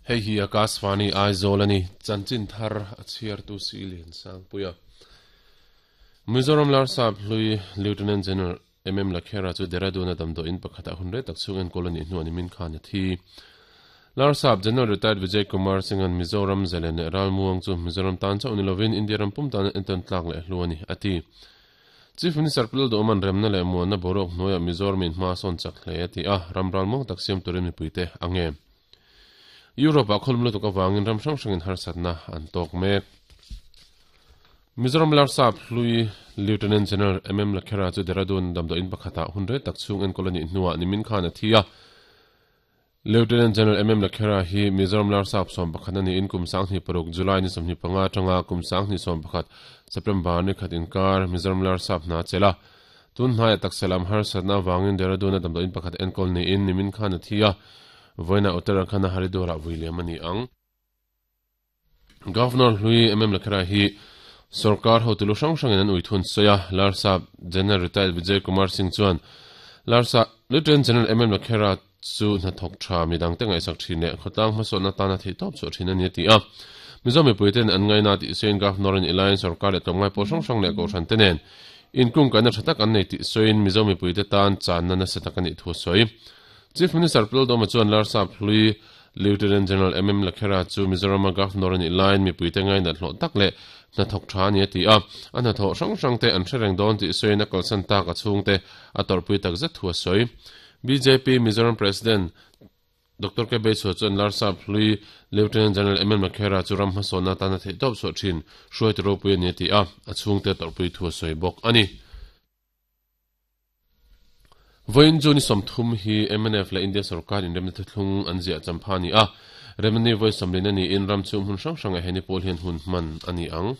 Hei hi Akashvani Aizawl a ni, chanchin thar a chhiartu si Liansangpuia. Mizoram Larsap hlui Lieutenant General MM Lakhera chu Dehradun-a damdawiin pakhatah hun rei tak chhung enkawl a nih hnuah nimin khan a thi. Larsap General Retired Vijay Kumar Singh-a'n Mizoram zalen leh ralmuang chu Mizoram tan chauh ni lovin India ram pum tan entawn tlak leh hlu a ni, a ti. Chief Minister Pu Lalduhawma'n remna leh muanna boruak hnuaiah Mizoram in hma a sawn chak hle a ti a, ram ralmuang tak siam turin mipuite a nge. Europe-ah khawlum lutuk avangin ram hrang hrangin harsatna an tawk mek. Mizoram Larsap hlui Lieutenant General MM Lakhera chu Dehradun damdawiin pakhatah hun rei tak chhung enkawl a nih hnuah nimin khan a thi a. Lieutenant General MM Lakhera hi Mizoram Larsap 11 a niin kum 26 July ni 25 atanga kum 21 September ni khat inkar Mizoram Larsap hna a chelh a. Tun hnaiah taksa lam harsatna avangin Dehradun-a damdawiin pakhat enkawl niin nimin khan a thi a. Vawiinah Uttarakhand-a Haridwar-ah vui liam a ni ang. Governor hlui MM Lakhera hi sorkar hotu lu hrang hrangin an ui thun sawi a, Larsap General Retired Vijay Kumar Singh chuan Larsap Lieutenant General MM Lakhera chu hnathawk tha midangte ngaihsak thin leh khawtlang hmasawnna tana theihtawp chhuah thin a ni a ti a. Mizo mipuiten an ngaina tih sawiin Governor in ilaiin sorkar leh tlawmngai pawl hrang hrang leh kohhran te nen inkungkaihna tha tak an nei tih sawiin Mizo mipuite tan channa nasa tak a nih thu a sawi. Chief Minister Pu Lalduhoma chuan Larsap hlui Lieutenant General MM Lakhera chu Mizorama Governor a nih laiin mipuite ngainat hlawh tak leh hnathawk tha a ni a ti a, a hnathawh hrang hrangte an hre reng dawn tih sawiin a kalsan tak a chhungte a tawrhpui tak zet thu a sawi. Bjp Mizoram President Doctor K Beichhua chuan Larsap hlui Lieutenant General MM Lakhera chu ram hmasawnna atana theihtawp chhuah thin hruaitu ropui a ni a ti a, a chhungte a tawrhpui thu a sawi bawk a ni. Vawiin June 30 hi mnf leh India sorkar inremna thuthlung an ziah champha a ni a, remna ni vawi 40 a niin ram chhung hmun hrang hrangah he ni pawl hian hun hman a ni ang.